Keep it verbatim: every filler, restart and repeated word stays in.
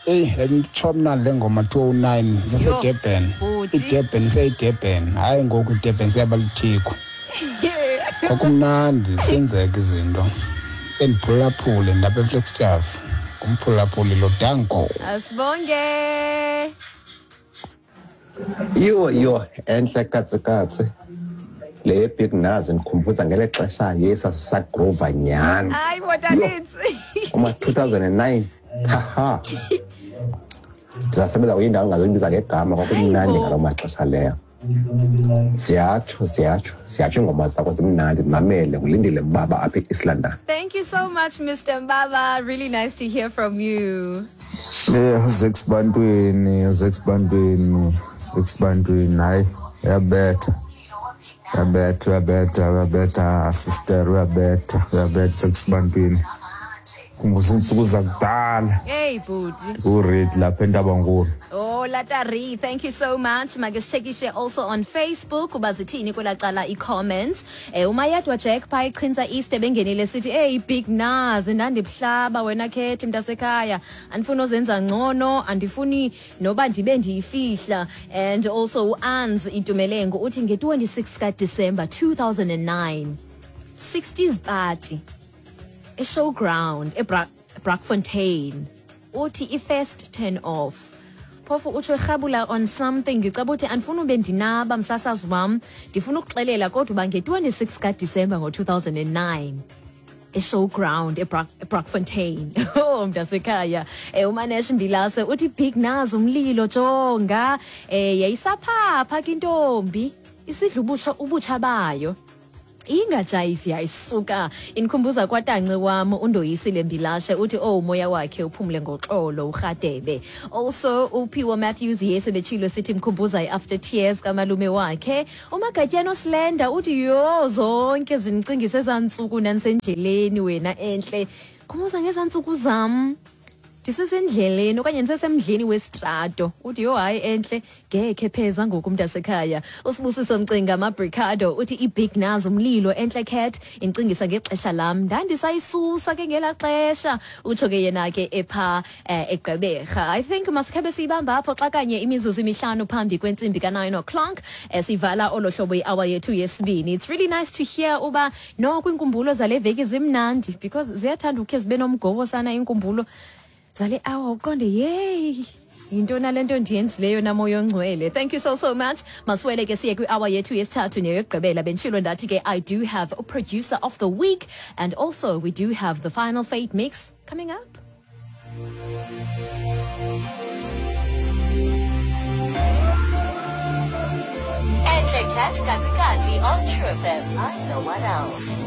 Eyi, nditsho mna le ngoma two oh nine zaseDurban. Bhuti. IDurban iseyiDurban, hayi ngoku iDurban seyaba lithiko. Kwakumnandi senzeka izinto. Endiphulaphule ndapha eFlagstaff. Ngumphulaphuli lo, danko. Asibonge. Yho yho, entle katsi katsi. Le Big Nuz ndikhumbuza ngele xesha yesasisagrova nyhani. Hayi botanitsi. Kuma two thousand and nine, haha. Ndisasebenza kwenye indawo engazoyibiza ngegama, kwakumnandi ngaloo maxesha leyo. Ziyatsho, ziyatsho, ziyatsho iingoma zakho zimnandi, ndimamele ngulindile Mbaba apha e-East London. Thank you so much, Mister Mbaba. Really nice to hear from you. Eh, uZeks Bantwini, uZeks Bantwini, uZeks Bantwini, hayi, uyabetha. Uyabetha, uyabetha, uyabetha, sister, uyabetha, uyabetha, Zeks Bantwini. Khumbuza iintsuku zakudala. Hey, bhuti. Ku-ready lapha eNtabankulu. Oh, Latari, thank you so much. Make sichekishe also on Facebook uba zithini kwelaa cala i-comments. Eh, uMayedwa Jack phaa eChintsa East ebengenile sithi, hey, Big Nuz, ndandibuhlaba wena Khethi mntasekhaya. Andifuni ozenza ngcono, andifuni noba ndibe ndiyifihla. And also uAns Itumelengo uthi nge-twenty-six kaDisemba two thousand and nine, sixties party eShowground eBra-, Brakfontein. Uthi i-first turn off. Phofu utsho erhabula on something. Ngicaba uthi andifuni ube ndinaba msasazi wam, ndifuna ukuxelela kodwa uba nge-twenty-six kaDisemba ngo-two thousand and nine eShowground eBrak-, eBrakfontein. Oh, mntasekhaya. Eh, uManesh Mbilase uthi Big Nuz umlilo jonga. Eh, yayisaphapha ke intombi, isidla ubutsha, ubutsha bayo. Ingajayivi yayisuka. Inkhumbuza kwatanci wam uNdoyisile Mbilashe uthi oh umoya wakhe uphumle ngoxolo uRhadebe. Also uPhiwo Matthews yese betshilo sithi mkhumbuza i-after tears kamalume wakhe. UMagatyana Slender uthi yho zonke zinicingise ezantsuku nanisendleleni wena entle. Khumbuza ngezantsuku zam. Ndisesendleleni okanye ndisesemdleni wesitrato. Uthi yho hayi entle ngekhe pheza ngoku mntasekhaya. USibusiso Mcinga Mabricado uthi iBig Nuz umlilo entle cat incingisa ngexesha lam. Ndandisayisusa ke ngelaa xesha. Utsho ke yena ke epha, eh, eGqeberha. I think masikhabe siyibamba apho xa kanye imizuzu emihlanu phambi kwentsimbi ka-nine o'clock. Eh, sivala olo hlobo i-hour yethu yesibini. It's really nice to hear uba noko iinkumbulo zale veki zimnandi because ziyathanda ukhe zibe nomgobo sana iinkumbulo zale hour uqonde yeyi yintoni le nto ndiyenzileyo namoya ongcwele. Thank you so, so much. Masiwele ke siye kwi-hour yethu yesithathu neyokugqibela. Benditshilo ndathi ke I do have a producer of the week and also we do have the final fate mix coming up. Entle Cat Kati Kati on True F M, like no one else.